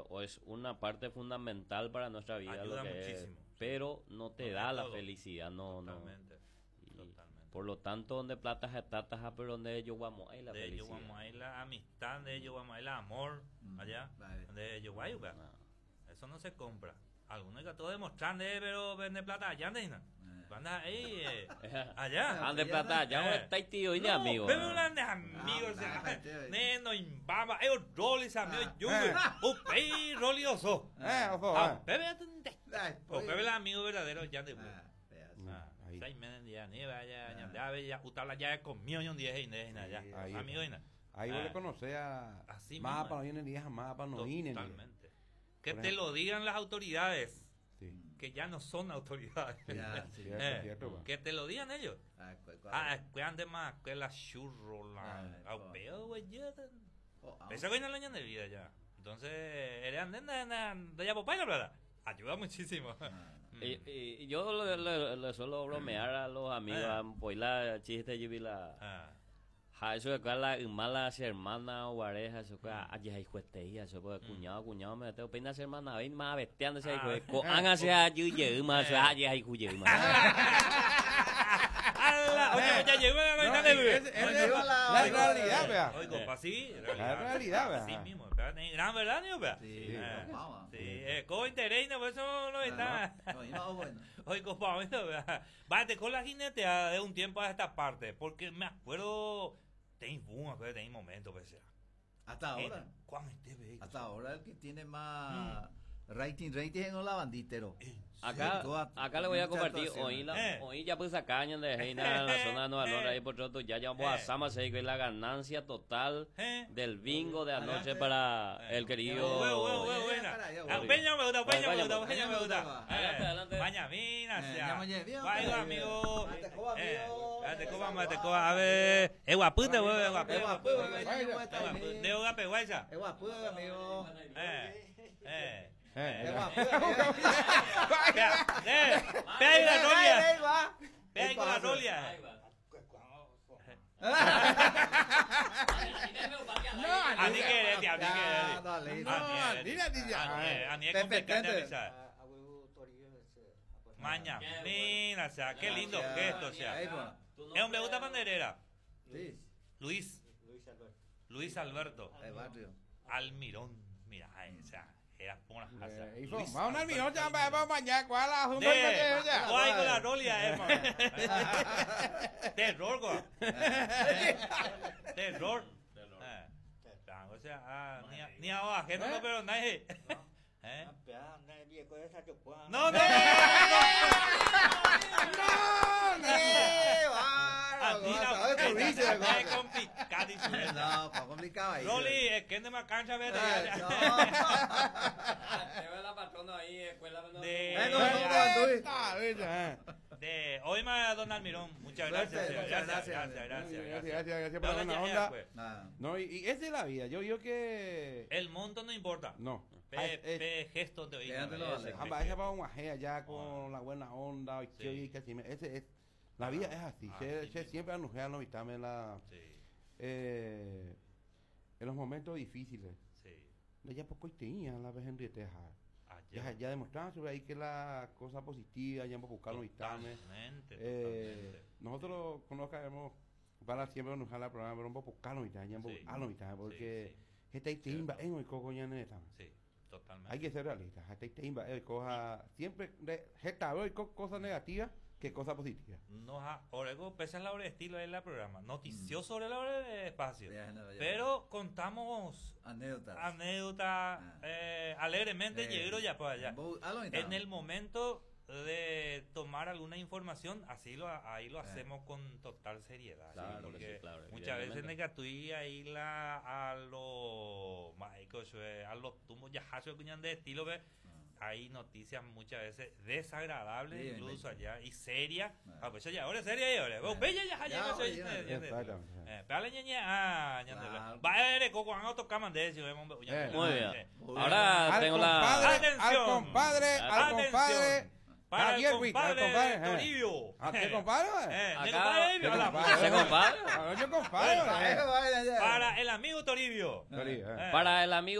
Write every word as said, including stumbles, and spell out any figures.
o es una parte fundamental para nuestra vida, Ayuda lo que es, muchísimo. pero no te No da es la todo. felicidad, no, no. Totalmente. Y Totalmente. por lo tanto, donde plata se trata, pero donde ellos vamos, ahí la De ellos felicidad. vamos a ir la amistad, de ellos vamos a ir el amor, Mm, allá, vale. de ellos guay, Ah. Eso no se compra. Algunos que todo demostrando, eh, pero vende plata allá, ¿no? Eh. Anda ahí, eh, allá. Ande plata, allá Eh. está tío y de No, amigo. Pero un de amigos, Ah, o sea, ah, tío. neno, imbaba, eh, roli, amigo, Ah. yo, Eh. upei, roli, oso. Eh, ojo, Ah, eh. bebe, atende. Ay, O pues. bebe el amigo verdadero, ya de Ah, pedazo. Ah, Ahí. seis meses ya, ni vaya, ya, ya, ya, utabla ya comió y un día y nada, ya. Ahí Amigo y nada. Ahí vos Ah. le conocés a Así más mismo. para no viene ni más para no viene. Totalmente. Que Por te ejemplo. lo digan las autoridades, Sí. que ya no son autoridades. Ya, sí. Cierto, Eh, cierto, pa. que te lo digan ellos. Ah, cu- cu- Ah, que ande más, que la churro, la. Ah, Ah, co- veo, güey, ya. Oh, ah, Esa güey no la de vida ya. Entonces, eres ande de ya papá y la plata. Ayuda muchísimo. Ah. Mm. Y, y- y yo le, le- le suelo bromear a los amigos, Eh. a la chiste yo vi la Ah, Ja, eso de cuál la mala su hermana o pareja, eso que ay ay juesteía, eso que cuñado, cuñado me tengo pena su hermana, ven más bestiando ese hijo de co han hacia yuye más ay ay juye más. ¡Ala! Oye, pues ya llegó la No, mitad de y bebé. ese- ese Oye, es la- la realidad, vea. Oigo, pa' sí, La realidad, vea. Así mismo, pero gran verdad, niño, vea. Sí, Eh, vamos. Sí, eh, co interés, no, por eso no está. No, y no, bueno. Oigo, pa, bueno, vea. Va, te con la jinetea de un tiempo a esta parte, porque me acuerdo, ten boom, acuerdo, ten momento, pues, sea. Hasta ahora. ¿Cuán este ve? Hasta ahora el que tiene más rating, rating es la banditero. Acá, Toda- acá le voy a mucha compartir, actuación. oí la, Eh. oí ya pues acá en de Reina, en la zona de Nueva York, ahí por otro, ya llevamos a Eh. Sama, se dijo, la ganancia total Eh. del bingo de anoche Adelante. para Eh. el querido Huevo, huevo, huevo, buena. Ah, Peña me gusta, Peña me gusta, Peña me gusta. Adelante, adelante. Maña, mina, Eh, sea. ya mañana, bien, Vaya, bien. amigo. Mate, coba, Eh, amigo. Mate, coba, mate, coba. A ver. Es guapute, huevo, es guapute. Es guapute, De guape, guaysa. Es guapo, amigo. Eh, eh. Eh, Es eh. guapo. Vea, eh, vea ahí la rolia. Vea ahí con la rolia. A ni que a ni que Dale. No, mira, A ni ni es Pepe, complicado Pepe. avisar. Maña, mira, o sea, qué lindo gesto, o sea. Ahí, pues. Es un me gusta panderera. Sí, Luis. Luis Alberto. el barrio. Almirón. Mira, ay, o sea, era por una casa. Eh, y Luis fue, vamos al Alberto mirón, ya, vamos mañana, ¿cuál la De, ya? guay con la rolia, eh, man. Terror, go. Terror. Eh. O sea, ah, ni a, ni a ajeno, no, pero nadie. ¿Eh? No, no, no, no, No, no. ¡Eh, no. bárbaro! Así ¿Sabes no, por es complicadísimo. No, fue complicado ahí. Rolly, es que no me cancha, vete. Eh, no. Te veo la patrona ahí, escuela De- Eh, no, no, no, Luis. Ah, ¿eh? De hoy más don Almirón, muchas Suerte, gracias, muchas gracias, gracias. gracias, gracias, Gracias, gracias, gracias por la No, buena ya, ya, onda. pues. Ah, No, y, y esa es la vida. Yo digo que. El monto no importa. No. Pe, Ah, es- pe gesto de oído. Déjatelo, vale. Amba, esa va un ajea ya con la buena onda. Y Sí. que- y que así me- ese es, la vida es así. Ah, Se, sí se mismo. siempre anuncia no en la Sí, eh, en los momentos difíciles. sí. Ya poco y tenía la vez en Rieteja. Ayer. Ya, ya demostraban sobre ahí que la cosa positiva, ya buscar los Totalmente, Eh, totalmente. nosotros conozcamos para siempre nos jala programa, pero un poco buscar los ya Sí. a los porque Sí, esta timba Cierto. en hoy coco ya no está. sí, totalmente. Hay que ser realista, esta timba eh, coja siempre de esta hoy cosas negativas que cosas positivas. No, ha, orego, pese a la hora de estilo de la programa. Noticioso sobre la hora de espacio. ya, no, ya. Pero contamos Anécdotas. anécdotas Ah. eh, alegremente Eh, llegué ya para allá. bo- a lo mitad. En el momento de tomar alguna información, así lo ahí lo Eh. hacemos con total seriedad. ¿sí? Claro que Porque sí, claro, muchas veces evidentemente. negatui ahí la a los a los tumbos ya hacho cuñan de estilo ve hay noticias muchas veces desagradables Sí, incluso sí. allá y serias. Ah. Ah, pues ya ahora seria y ahora. Vos bella ya Ya, ya oye, ya. Exactamente. Eh, pero ñe ah, ñande. Claro. Va a coco han autocaman de eso, Eh. Muy bien. Muy bien. Ahora Al tengo la. compadre, al Atención. compadre, al Atención. compadre Para el Javier Witt, al compadre compadre, eh. Toribio. ¿A qué compadre? Eh, Acá- ¿de compadre ¿Qué Hola. compadre? ¿Se compadre? Ah, Yo compadre. Eh, eh. vaya, ya. Para el amigo Toribio. Toribio, eh. Eh. Para el amigo